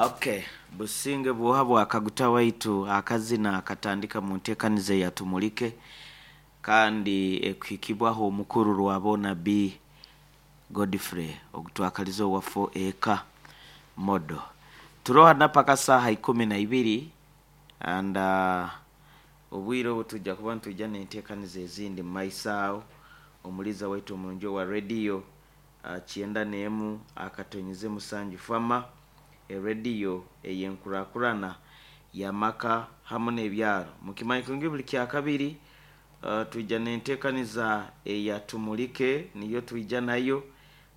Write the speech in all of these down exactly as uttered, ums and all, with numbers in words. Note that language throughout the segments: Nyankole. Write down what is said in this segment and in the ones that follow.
Okay, businge bwoha bwakaguta waitu akazina akatandika mu nteekaniza eyatumulike kandi ekuhikibwaho omukuru rwabona B Godfrey ogutwakaliza owafo eka modo turoha napaka saaha ikumi na ibiri and uh, obwire obu tujja kuba nitujja n'enteekaniza ezindi mu maiso aho. Omuliza waitu omurungi owa rediyo uh, kyenda n'emu akatonyeze musanju fama erediyo ey'enkurakurana y'amaka hamu n'ebyaro mukimanyi kurungi buli kyakabiri uh, twija n'enteekaniza eyatumulike niyo twija nayo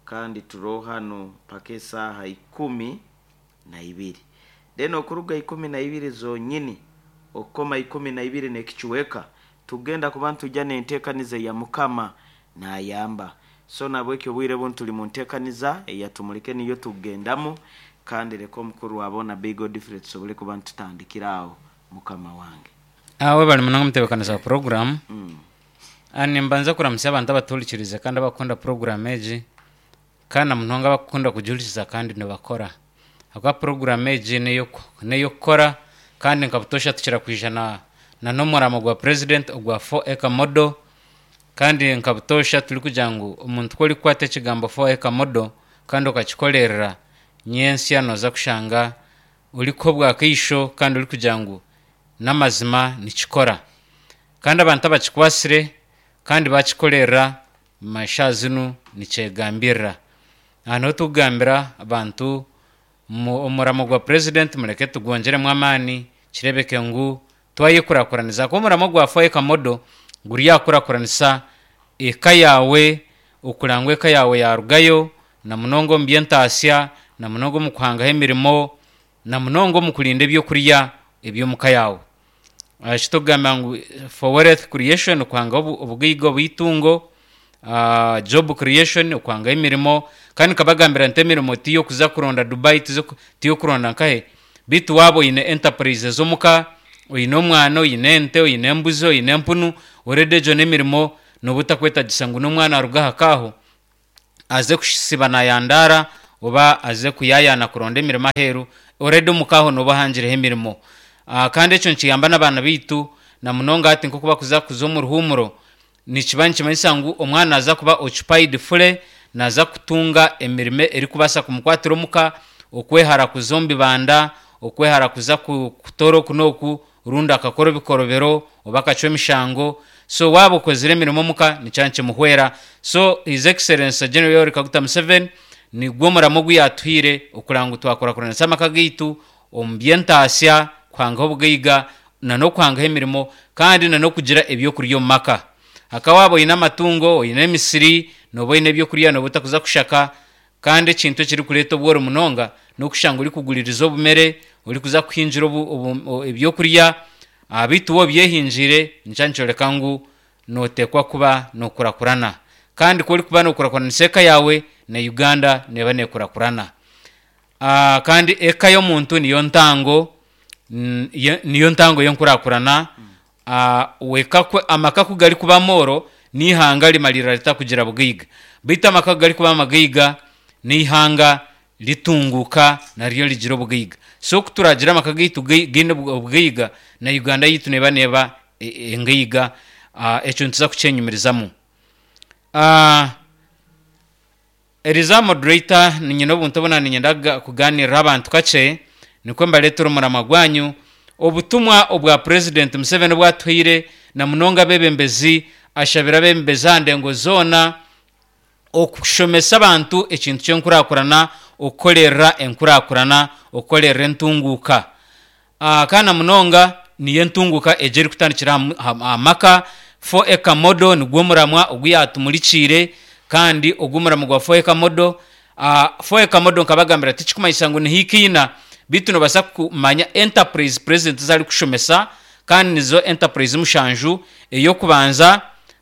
kandi turoho hanu paka esaaha ikumi na ibiri, then okuruga ikumi na ibiri zonyini okukoma ikumi na ibiri n'ekicweka tugenda kuba nitujja n'enteekaniza eya mukama nayamba. So nabwekyo obwire bunu tuli mu nteekaniza eyatumulike niyo tukugendamu, kandi leka omukuru wabona B Godfrey tusobole kuba nitutandikira aho mukama wange. Awe bali munonga mutebekanisa wa program. mm. Ani mbanza kuramutsya abantu abatuhurikirize kandi abakunda program egi, kandi na munonga abakunda kugihurikiza kandi nibakora, ahakuba program egi neyoku- neyokukora kandi nka butosha tukira kwija na na n'omuramo gwa president ogwa four acre model. Kandi nka butosha turi kugira ngu omuntu ku orikukwata ekigambo four acre model kandi okakikolerera nyentsya nooza kushanga orikuha obwakaisho kandi orikugira ngu n'amazima nikikora. Kandi abantu abakikwasire kandi bakikorera masha zinu nikyegambirira. Aha niho tukugambira abantu mu- omuramo gwa president mureke tugwongyeremu amaani kirebeke ngu twayekurakuranisa, kuba omuramo gwa four acre model guri aha kukurakuranisa eka yaawe, okuranga eka yaawe yarugayo na munonga omu by'entaasya, na munonga omu kuhangaho emirimo, na munonga omu kurinda ebyokurya eby'omuka yaawe. Eki tukugamba ngu for wealth creation, okuhangaho obu- obugaiga obw'itungo, uh, job creation, okuhangaho emirimo. Kandi nkabagambira nti emirimo tiyokuza kuronda Dubai, tiyokuronda nkahe, bitu waaba oine enterprise ez'omuka, oine omwana, oine ente, oine embuzi, oine empunu, already egyo n'emirimo nooba otakwetagisa ngu n'omwana aruge aha kaaho aze kusiba nayandaara oba aze kuyayaana kuronda emirimo aheeru. Already omuka aho nooba ohangireho emirimo. uh, kandi ekyo nikiyamba n'abaana baitu na munonga hati nk'oku bakuza kuza omu ruhuumuro, nikiba nikimanyisa ngu omwana naza kuba occupied fully, naza kutunga emirimo erikubaasa kumukwatira omuka, okwehara kuza omu bibanda, okwehara kuza ku- kutoora oku n'oku, rundi akakora ebikorobero oba akacwa emishango. So waaba okozire emirimo omuka nikiba nikimuhwera. So His Excellency General Yoweri Kaguta Museveni nigwo omuramo ogu yaatuhaire okuranga ngu twakurakuranisa amaka gaitu omu by'entaasya, kuhangaho obugaiga na n'okuhangaho emirimo kandi na n'okugira ebyokurya omu maka. Haka waaba oine amatungo, oine emisiri, nooba oine ebyokurya, nooba otakuza kushaka. Kandi ekintu ekirikureeta obworo munonga n'okushanga orikuguririza obumere, orikuza kuhingira obu, obu, o- ebyokurya, ah, bitu wowe obyehingiire nikyo nikyoreka ngu nooteekwa kuba nookurakurana. Kandi ku orikuba nookurakuranisa eka yaawe, na Uganda neeba neekurakurana. Ah, kandi eka y'omuntu niyo ntango mm, ye- niyo ntango y'enkurakurana. Ah, weka kwe- amaka ku garikuba amooro n'ihanga rimarira ritakugira bugaiga, beitu amaka ku garikuba amagaiga n'ihanga ritunguuka naryo rigira obugaiga. So ku turagira amaka gaitu gai- gaine obu- obugaiga, na Uganda yaitu neeba neeba e- e- engaiga. Ah, ekyo nituza kukyenyumirizamu. Ah, Eriza moderator, ninyine obuntu obu ninyenda kuga- kuganirira abantu kakye nikwo mbareetera omurama gwanyu, obutumwa obwa president Museveni obwatuhaire na munonga abebembezi. Ashabire abebembezi aha ndengo zoona okushomesa abantu ekintu ky'enkurakurana, okukorerera enkurakurana, okukorerera entunguuka. uh, kandi na munonga niyo entunguuka egyo erikutandikira aha mu- aha aha maka. four acre model nigwo muramwa ogu yatumurikiire, kandi ogu omuramo gwa four acre model, uh, four acre model nkabagambira tikikumanyisa ngu nihikiina, bitu nobaasa kumanya enterprise president ezi arikushomesa, kandi nizo enterprise mushanju. Ey'okubanza,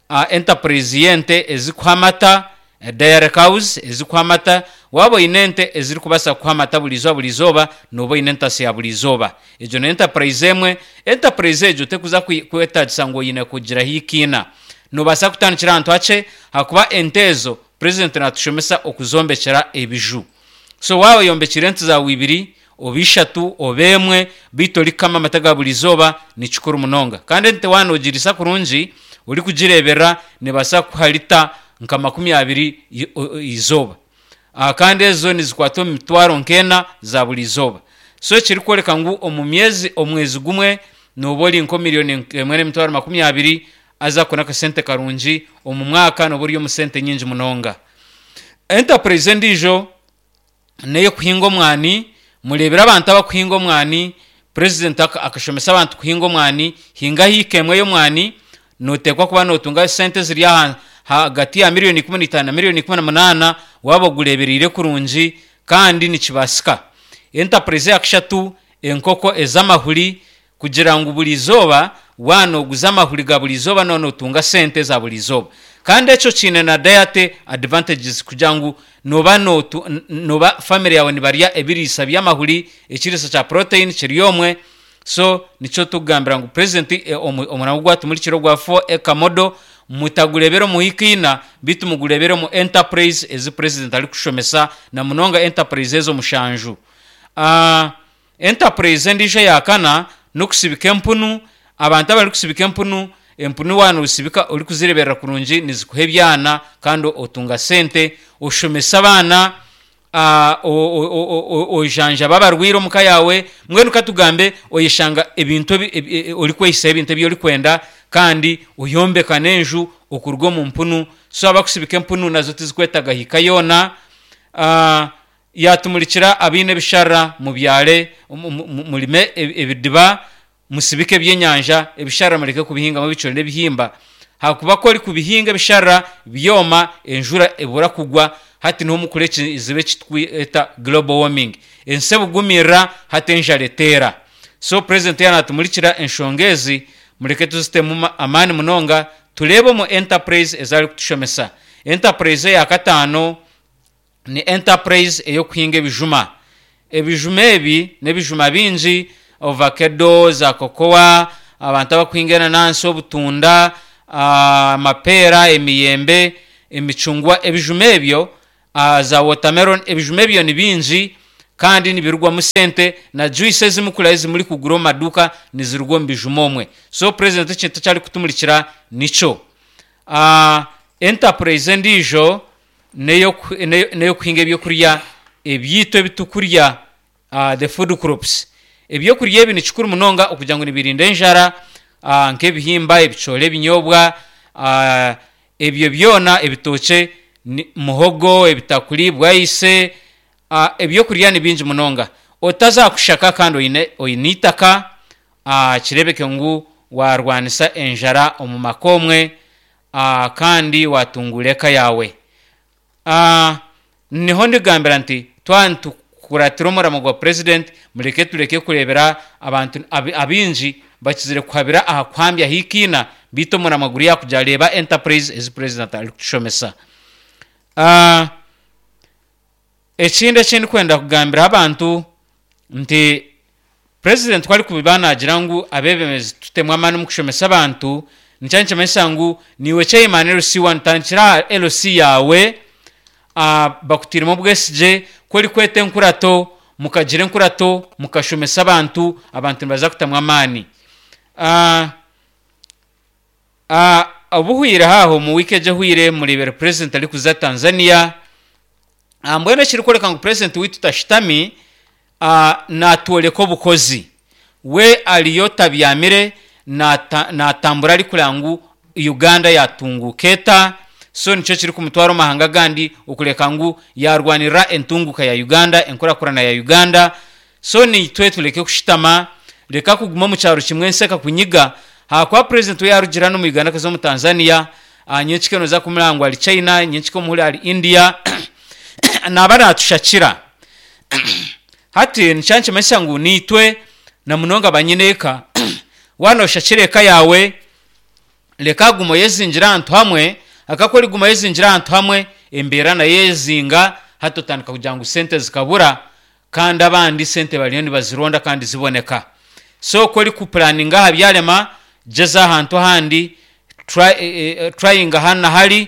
uh, enterprise y'ente ezikuha amata, eh, dairy cows ezikuha amata. Waaba oine ente ezirikubaasa kukuha amata buri izooba buri izooba, nooba oine entasi ya buri izooba. Egyo ni enterprise emwe. Enterprise egyo tekuza kwi- kwetagisa ngu oine kugira hikiina, noobaasa kutandikira ahantu hakye, hakuba ente ezo president natushomesa okuzombekyera ebiju. So waaba oyombekire ente zaawe ibiri oba ishatu oba emwe, beitu orikukama amata ga buri izooba ni kikuru munonga. Kandi ente waaba noogiriisa kurungi orikugireeberera neebaasa kukuha lita nka makumi abiri izooba. Kandi ezo nizikwata omu mitwaro nk'ena za buri izooba. So ekirikworeka ngu omu myezi omwezi gumwe nooba ori nka milioni emwe n'emitwaro makumi abiri haza ako n'akasente karungi, omu mwaka nooba ori omu sente nyingi munonga. Enterprise endiijo n'ey'okuhinga omwani, mureebire abantu abakuhinga omwani, president akashomesa abantu kuhinga omwani, hinga hiika emwe y'omwani nooteekwa kuba nootunga sente eziri ahagati ya milioni ikumi n'itaano na milioni ikumi na munaana waaba ogureebereire kurungi kandi nikibaasika. Enterprise eya kashatu enkoko ez'amahuri kugira ngu buri izooba waaba nooguza amahuri ga buri izooba nooba nootunga sente za buri izooba. Kandi ekyo kiine na diet advantages kugira ngu nooba nooba family yaawe nibarya ebiriisa by'amahuri, ekiriisa kya protein kiri omwe, so nikyo turikugambira ngu president omurimo ogwatumurikire ogwa four acre model mutagureebera omu wiiki ina beitu mugureebere omu enterprise ezi president arikushomesa na munonga enterprise ezo mushanju. Enterprise endiijo eya kana n'okusibika empunu, abantu abarikusibika empunu, empunu waaba noosibika orikuzireeberera kurungi nizikuha ebyana kandi otunga sente, oshomesa abaana, ojanjaba abarwaire omuka yaawe, mbwenu katugambe oyeshanga ebintu orikwehisaho ebintu ebi orikwenda kandi oyombeka n'enju okuruga omu mpunu, so abakusibika empunu nazo tizikwetaaga hiika yoona. Yaatumurikira abaine ebisharara mubyare, murime ebidiba, musibike ebyenyanja, ebisharara mureke kubihingamu ebicori n'ebihimba ahakuba ku orikubihinga ebisharara byoma enjura ebura kugwa hati niho mukura ekizibu eki turikweta global warming. Ensi ebugumirira hati enjara eteera. So president yaaba naatumurikira enshonga ezi mureke tuzitemu amaani munonga tureebe omu enterprise ezi arikutushomesa. Enterprise eya kataano ni enterprise ey'okuhinga ebijuma. Ebijuma ebi n'ebijuma bingi ovakedo, za kokowa, abantu abakuhinga enanansi, obutunda, amapeera, emiyembe, emicungwa, ebijuma ebyo za watermelon, ebijuma ebyo ni bingi kandi nibirugwamu sente na juice ezimukura ezimurikugura omu maduuka niziruga omu bijuma omwe. So president ekintu eki arikutumurikira nikyo. Enterprise endiijo n'ey'okuhinga ebyokurya ebyaitu ebi turikurya the food crops. Ebyokurya ebi ni kikuru munonga okugira ngu nibirinda enjara nk'ebihimba, ebicoori, ebinyoobwa, ebyo byona ebitookye, muhogo, ebitakuri, bwayise, ebyokurya ni bingi munonga. Otazakushaka kandi oine oine eitaka kireebeke ngu waarwanisa enjara omu maka omwe kandi waatunguura eka yaawe. Niho ndigambira nti twaba nitukuratira omurimo gwa president mureke tureke kureebera abantu abaingi bakizire kuhabira aha kuhambya hiika ina beitu omurimo guri aha kugira reeba enterprise ezi president arikutushomesa. Ekindi eki ndikwenda kugambira abantu nti president ku arikuba naagira ngu abeebembezi tutemu amaani omu kushomesa abantu, nikyo nikimanyisa ngu niiwe chairman L C one tandikira aha L C yaawe bakutairemu obwesigye, ku orikweta enkurato mukagira enkurato mukashomesa abantu, abantu nibaza kutamu amaani. Obuhwire haaho omu wiiki egi ehwire mureebire president arikuza Tanzania, mbwenu ekirikworeka ngu president waitu tashutami naatworeka obukozi. We ariyo tabyamire naatambura arikureba ngu Uganda yaatunguuka eta, so nikyo kirikumutwara omu mahanga agandi okureka ngu yaarwanirira entunguuka ya Uganda, enkurakurana ya Uganda, so naitwe tureke kushutama, reka kuguma omu kyaro kimwe ensi ekakunyiga ahakuba president we yaarugira hanu omu Uganda akaza omu Tanzania, nyenkika nooza kumureba ngu ari China, nyenkika omuhurire ari India, naaba naatushakira. Hati nikyo nikimanyisa ngu naitwe na munonga banyineeka waaba nooshakira eka yaawe, reka guma oyezingire ahantu hamwe, ahakuba ku orikuguma oyezingire ahantu hamwe, embeera nayo eyezinga hati otandika kugira ngu sente zikabura kandi abandi sente bariyo nibazironda kandi ziboneka. So ku orikupuraninga aha byarema, gyeza ahantu ahandi, tryinga hanu na hari,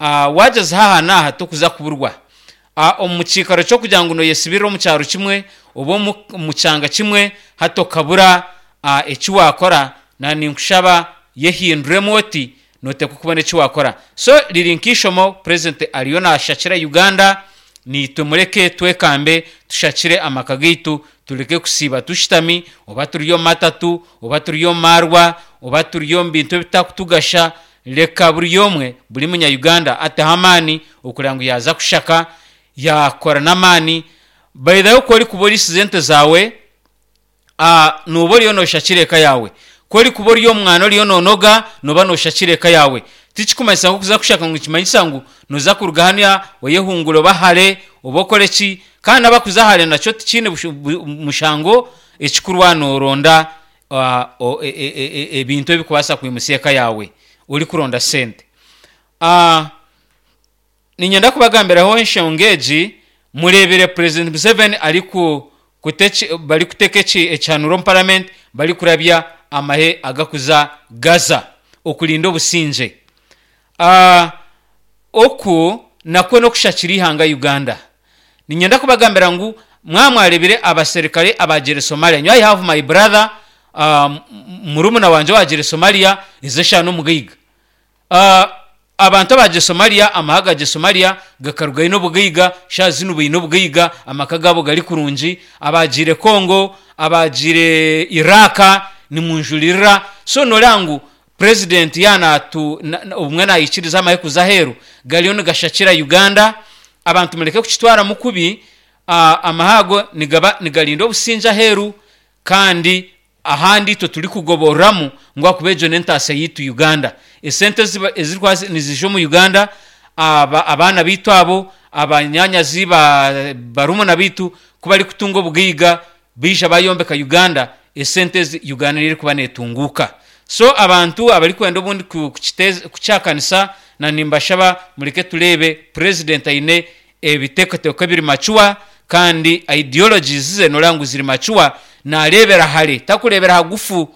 waagyezaho aha n'aha tokuza kuburwa. Omu kiikaro ky'okugira ngu noyesibirira omu kyaro kimwe oba omu kyanga kimwe hati okabura eki wakora, na ninkushaba yehinduremu oti noteekwa kubona eki wakora. So riri nk'eishomo president ariyo nashakira Uganda, niitwe mureke twekambe tushakire amaka gaitu, tureke kusiiba tushutami oba turi omu matatu oba turi omu marwa oba turi omu bintu ebitakutugasha. Reka buri omwe buri munya Uganda ateho amaani okureba ngu yaaza kushaka yakora n'amaani. By the way, ku orikuba orisize ente zaawe, nooba oriyo noshakira eka yaawe. Ku orikuba ori omwana oriyo noonoga, nooba noshakira eka yaawe. Tikikumanyisa ngu okuza kushaka ngu nikimanyisa ngu noza kuruga hanu oyehungure oba hare oba okore ki, kandi abakuza hare nakyo tikiine mushango, ekikuru waaba nooronda ebintu ebirikubaasa kwimutsya eka yaawe orikuronda sente. Niinyenda kubagambiraho enshonga egi, mureebire President Museveni ariku barikuteeka ekihanuro omu parliament barikurabya amahe agakuza Gaza okurinda obusingye. Oku nakwo n'okushakira eihanga Uganda. Niinyenda kubagambira ngu mwaba mwareebire abaserukare abagiire Somalia, nyowe I have my brother, murumuna wangye owagiire Somalia ezi eshaaha n'omugaiga. Abantu abagiire Somalia, amahe agagiire Somalia gakarugayo n'obugaiga, shaaha zinu baine obugaiga, amaka gaabo gari kurungi. Abagiire Congo, abagiire Iraq nimunjuririra. So nooreeba ngu president yaaba obumwe naikiriza amahe kuza aheeru, gariyo nigashakira Uganda. Abantu mureke kukitwaramu kubi, amahe ago nigaba nigarinda obusingye aheeru, kandi ahandi itwe turikugoboreramu ngu ahakuba egyo n'entaasya yaitu Uganda. Esente ezirikuba niziija omu Uganda, abaana baitu abo, abanyaanyazi, barumuna baitu ku barikutunga obugaiga baija bayombeka Uganda, esente ezi Uganda niyo erikuba neetunguuka. So abantu abarikwenda obundi kukihakanisa na nimbashaba mureke tureebe president aine ebiteekateeko ebiri mature kandi ideologies ze nooreeba ngu ziri mature, naareebera hare takureebera hagufu.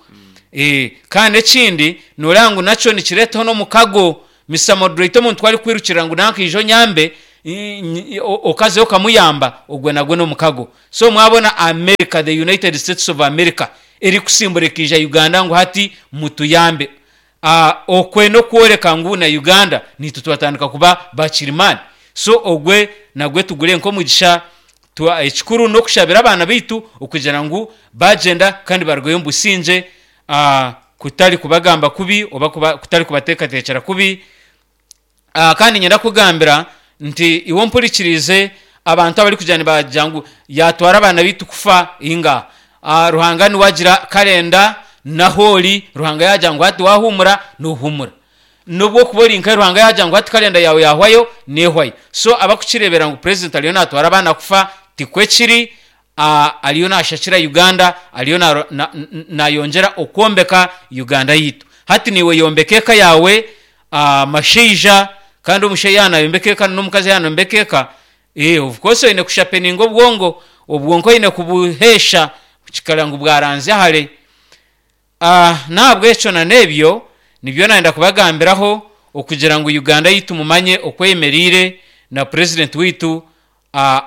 Kandi ekindi nooreeba ngu nakyo nikireetaho n'omukago. Mister Moderator, omuntu ku arikwirukira ngu nanka ija onyambe, okazayo okamuyamba, ogwo nagwo n'omukago. So mwabona America, the United States of America erikusimbura ekaija Uganda ngu hati mutuyambe, okwe n'okworeka ngu na Uganda naitwe twatandika kuba bakirimaani. So ogwe nagwe tugure nk'omugisha. Ekikuru n'okushabira abaana baitu okugira ngu bagyenda kandi barugayo omu busingye, kutari kubagamba kubi oba kutari kubateekateekyera kubi. Kandi niinyenda kukugambira nti iwe ompurikiriize, abantu abarikugira nibagira ngu yaatwara abaana baitu kufa, inga Ruhanga niwe agira kalenda n'ahu ori, Ruhanga yaagira ngu hati waahuumura, noohuumura. N'obu orikuba ori nkahi, Ruhanga yaagira ngu hati kalenda yaawe yaahwayo, neehwayo. So abakukireebera ngu president ariyo naatwara abaana kufa, tikwo kiri, ariyo naashakira Uganda, ariyo naayongyera okwombeka Uganda yaitu. Hati naiwe yombeka eka yaawe, mashaija, kandi omushaija yaaba nayombeka eka n'omukazi yaaba nayombeka eka, of course oine kushapeninga obwongo, obwonko oine kubuheesha kikara ngu bwaranzya hare. N'ahabw'ekyo na n'ebyo nibyo naayenda kubagambiraho okugira ngu Uganda yaitu mumanye oku eyemereire na president waitu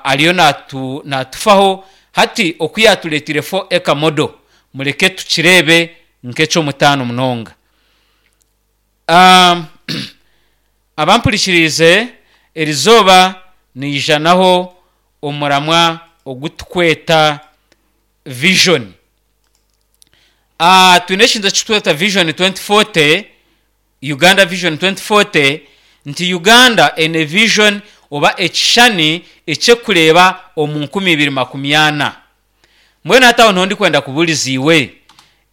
ariyo naatufaho. Hati oku yaatureeteire four acre model, mureke tukireebe nk'eky'omutaano munonga. Abampurikiriize, erizooba niijanaho omuramwa ogu turikweta vision. Twine ekintu eki turikweta vision twenty forty, Uganda vision twenty forty, nti Uganda eine vision oba ekishushani eky'okureeba omu nkumi ibiri makumi ana. Mbwenu hati aho niho ndikwenda kubuuriza iwe,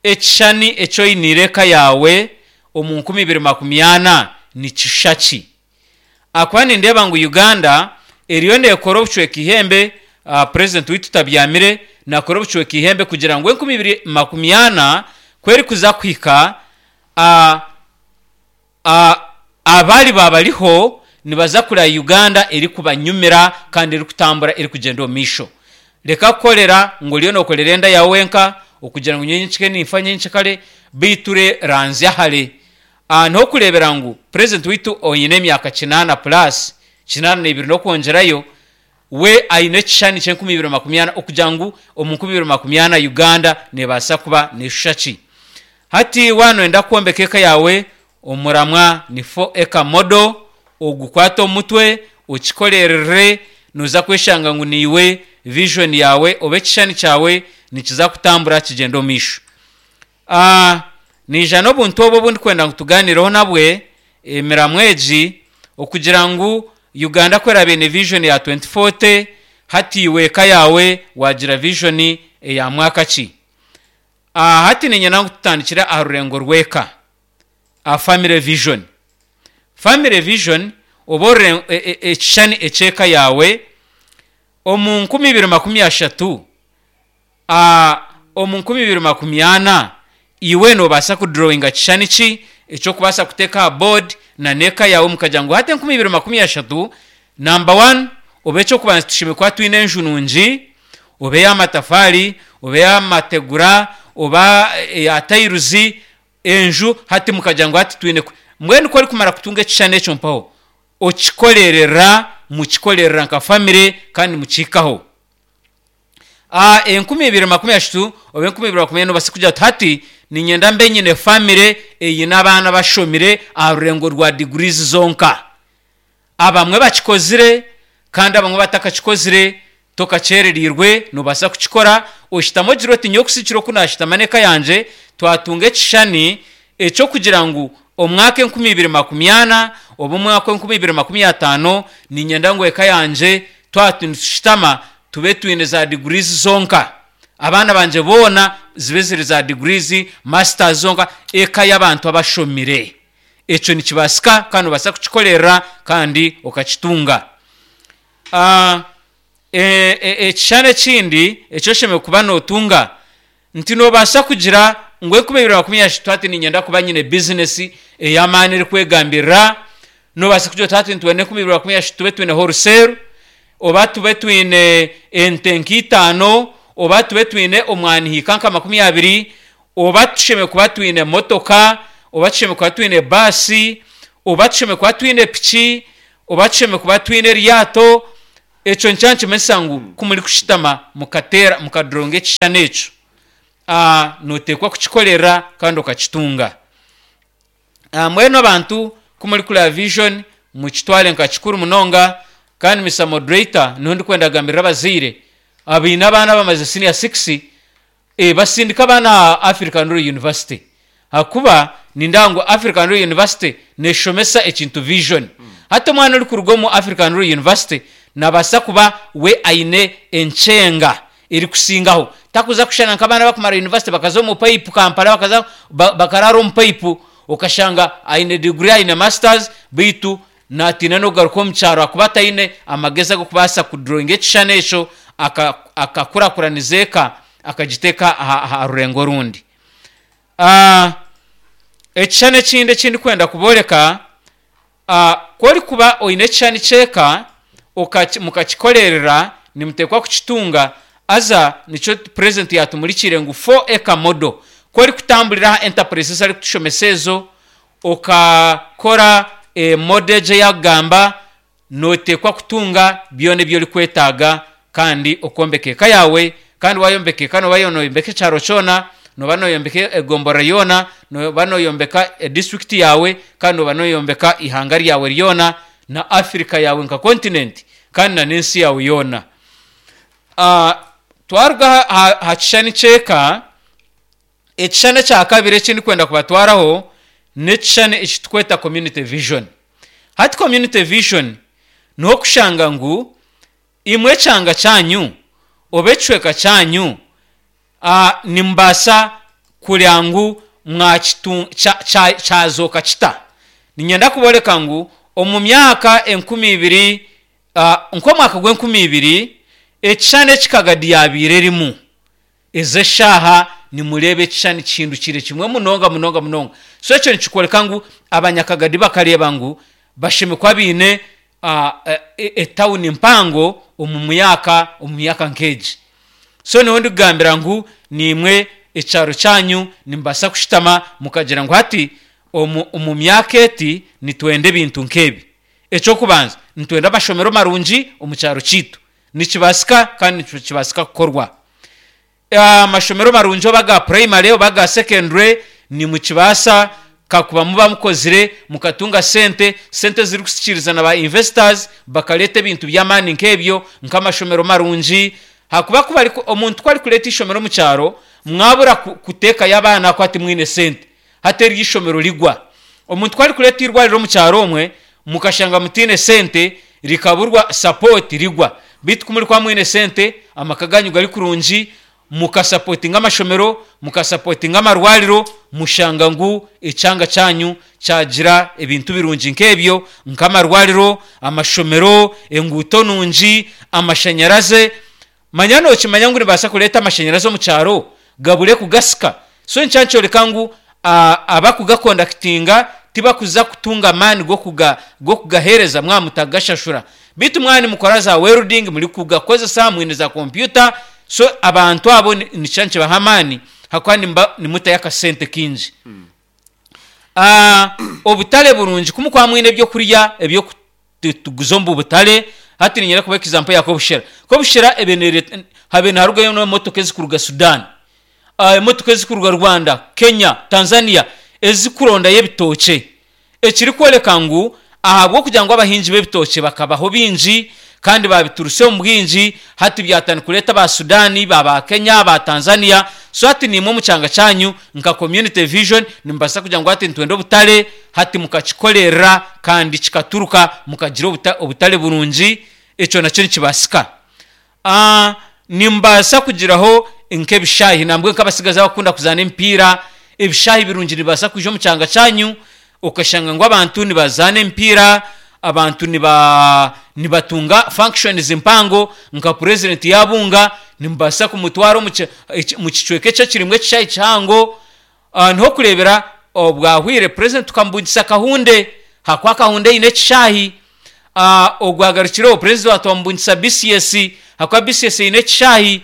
ekishushani eki oiniire eka yaawe omu nkumi ibiri makumi ana nikishusha ki? Ahakuba nindeeba ngu Uganda eriyo neekora obucweka ihembe, president waitu tabyamire, naakora obucweka ihembe kugira ngu enkumi ibiri makumi ana ku erikuza kuhika, abariba bariho nibaza kureba Uganda erikubanyumira kandi erikutambura erikugyenda omu maisho. Reka kukorera ngu oriyo nookorera enda yaawe wenka okugira ngu nyowe nyenkya ninfa nyenkya beitu ranzya hare. Niho orikureebera ngu president waitu oine emyaka kinaana plus, kinaana n'ebiri n'okwongyerayo, We aine ekishushani ky'enkumi ibiri makumi ana okugira ngu omu nkumi ibiri makumi ana Uganda nebaasa kuba neshusha ki. Hati waanoyenda kwombeka eka yaawe, omuramwa ni four acre model, ogukwate omu mutwe, okikolerere, nooza kweshanga ngu niiwe vision yaawe oba ekishushani kyawe nikiza kutambura kigyende omu maisho. Naija n'obuntu obu obundikwenda ngu tugaanireho nabwe emiramwa egi okugira ngu Uganda ku eraabe eine vision ya twenty forty, hati iwe eka yaawe waagira vision eya mwaka ki? Hati niinyenda ngu tutandikire aha rurengo rw'eka, aha family vision. Family vision oba ekishushani eky'eka yaawe omu nkumi ibiri makumi ashatu, omu nkumi ibiri makumi ana, iwe noobaasa kudurowinga kishushani ki eky'okubaasa kuteeka aha board na n'eka yaawe mukagira ngu hati enkumi ibiri makumi ashatu, namba one, oba eky'okubanza tushemereire kuba twine enju nungi, oba ey'amatafaari, oba ey'amategura, oba eya tayiruzi, enju hati mukagira ngu hati twine mbwenu ku orikumara kutunga ekishushani ekyo mpaho okikorerera, mukikorerera nka famire kandi mukihikaho. Enkumi ibiri makumi ashatu oba enkumi ibiri makumi ana noobaasa kugira oti hati niinyenda mbe nyine famire eine abaana abashomire aha rurengo rwa degrees zonka. Abamwe bakikozire kandi abamwe batakakikozire, tokakyerereirwe noobaasa kukikora oshutame ogire oti nyowe kusigikira oku naashutama n'eka yangye twatunga ekishushani eky'okugira ngu omwaka enkumi ibiri makumi ana oba omwaka enkumi ibiri makumi ataano niinyenda ngu eka yangye twaba nitushutama tube twine za degrees zonka. Abaana bangye boona zibe ziri za degrees, masters zonka, eka y'abantu abashomire. Ekyo nikibaasika kandi noobaasa kukikorerera kandi okakitunga. Ekishushani ekindi eki oshemereire kuba nootunga, nti noobaasa kugira ngu enkumi ibiri makumi ashatu hati niinyenda kuba nyine bizinesi ey'amaani erikwegambirira, noobaasa kugira oti hati nitwenda enkumi ibiri makumi ashatu tube twine wholesale, oba tube twine ente nk'itaano, oba tube twine omwani hiika nka makumi abiri, oba tushemereire kuba twine motoka, oba tushemereire kuba twine baasi, oba tushemereire kuba twine piki, oba tushemereire kuba twine eryato. Ekyo nikyo nikimanyisa ngu ku murikushutama mukateera mukaduronga ekishushani ekyo, nooteekwa kukikorera kandi okakitunga. Mbwenu abantu ku murikureeba vision mukitware nka kikuru munonga. Kandi Mister Moderator, niho ndikwenda kugambirira abazaire abaine abaana abamazire senior six, basindike abaana aha African Royal University ahakuba nindeeba ngu African Royal University neeshomesa ekintu vision. Hati omwana orikuruga omu African Royal University naabaasa kuba we aine enkyenga erikusingaho. Takuza kushushana nk'abaana abakumara university bakaza omu pipe Kampala bakaza bakaraara omu pipe, okashanga aine degree aine masters beitu naatiina n'okugaruka omu kyaro ahakuba ataine amagezi ag'okubaasa kudurowinga ekishushani ekyo akakurakuraniza eka akagiteeka aha rurengo orundi. Ekishushani ekindi eki ndikwenda kubooreka, ku orikuba oine ekishushani ky'eka mukakikorerera nimuteekwa kukitunga, haza nikyo purezidenti yaatumurikiire ngu four acre model. Ku orikutamburira aha enterprise ezi arikutushomesa ezo, okakora model egi ei arikugamba, nooteekwa kutunga byona ebi orikwetaaga kandi okombeka eka yaawe. Kandi waayombeka eka nooba nooyombeka ekyaro kyona, nooba nooyombeka egomborora yoona, nooba nooyombeka edisiturikiti yaawe, kandi nooba nooyombeka eihanga ryawe ryona na Africa yaawe nka continent kandi na n'ensi yaawe yoona. Twaruga aha kishushani ky'eka, ekishushani ekya kabiri eki ndikwenda kubatwaraho n'ekishushani eki turikweta community vision. Hati community vision niho orikushanga ngu imwe ekyanga kyanyu oba ekicweka kyanyu nimubaasa kureeba ngu kyazooka kita. Niinyenda kubooreka ngu omu myaka enkumi ibiri, nk'omwaka gw'enkumi ibiri, ekishushani eki Kagadi yaabaire erimu, ezi eshaaha nimureeba ekishushani kihindukire kimwe munonga munonga munonga. So ekyo nikikworeka ngu abanyakagadi bakareeba ngu bashemereire kuba baine etawuni mpango omu myaka omu myaka nk'egi. So nyowe ndikugambira ngu naimwe ekyaro kyanyu nimubaasa kushutama mukagira ngu hati omu omu myaka eti nitwenda ebintu nk'ebi. Eky'okubanza nitwenda amashomero marungi omu kyaro kyaitu. Nikibasika kandi nikibasika kukorwa. Amashomero marungi, oba ga primary oba ga secondary, nimukibasa kakuba muba mukozire mukatunga sente, sente zirikusikiiriza na ba investors bakaleta ebintu by'amaani nk'ebyo, nk'amashomero marungi. Hakuba kuba omuntu ku arikureeta ishomero omu kyaro, mwabura kuteekayo abaana ahakuba timwine sente, hati eryo ishomero rigwa. Omuntu ku arikureeta irwariro omu kyaro omwe, mukashanga mutiine sente, rikaburwa support, rigwa. Beitu ku murikuba mwine sente, amaka ganyu gari kurungi, mukasapotinga amashomero, mukasapotinga amarwariro, mushanga ngu ekyanga kyanyu kyagira ebintu birungi nk'ebyo, nk'amarwariro, amashomero, enguuto nungi, amashanyaraze. Manya nokimanya ngu nibaasa kureeta amashanyarazi omu kyaro gabure kugasika? So nikyo nikyoreka ngu abakugakondakitinga tibakuza kutunga amaani g'okugaheereza mwaba mutagashashura. Beitu mwaba nimukora za welding, murikugakozesa, mwine za kompyuta, so abantu abo nikyo nikibaha amaani ahakuba nimuba nimutayo akasente kingi. Obutare burungi, ku mukuba mwine ebyokurya ebyokutuguza omu butare. Hati niinyenda kubaha example ya Kobushera. Kobushera habaire niharugayo n'emotoka ezikuruga Sudan, emotoka ezikuruga Rwanda, Kenya, Tanzania, ezikurondayo ebitookye, ekirikworeka ngu ahabw'okugira ngu abahingi b'ebitookye bakabaho bingi kandi babituruse omu bwingi, hati byatandika kureeta aba Sudan, ba Kenya, ba Tanzania. So hati nimwe omu kyanga kyanyu nka Community Vision nimubaasa kugira ngu hati nitwenda obutare, hati mukakikorera kandi kikaturuka, mukagira obutare burungi. Ekyo nakyo nikibaasika. Nimubaasa kugiraho nk'ebishaayi, nambwenu nk'abatsigazi abakukunda kuzaana emipiira, ebishaayi birungi nibibaasa kwija omu kyanga kyanyu, okashanga ngu abantu nibazaana emipiira, abantu nibatunga functions mpango, nka president yaabunga nimubaasa kumutwara omu kicweka ekyo ekirimu ekishaayi kihango. Niho okureebera obwahwire president tukamubugisa Kahunde, ahakuba Kahunde eine ekishaayi. Ogwagarukireho president twamubugisa B C S, ahakuba B C S eine ekishaayi.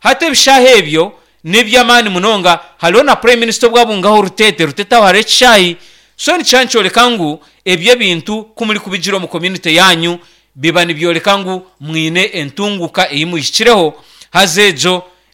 Hati ebishaayi ebyo n'eby'amaani munonga. Hariho na prime minister obwabungaho Rutete, Rutete aho hariho ekishaayi. So nikyo nikyoreka ngu ebyo ebintu ku murikubigira omu community yanyu, biba nibyoreka ngu mwine entunguka ei muhikireho. Haza egyo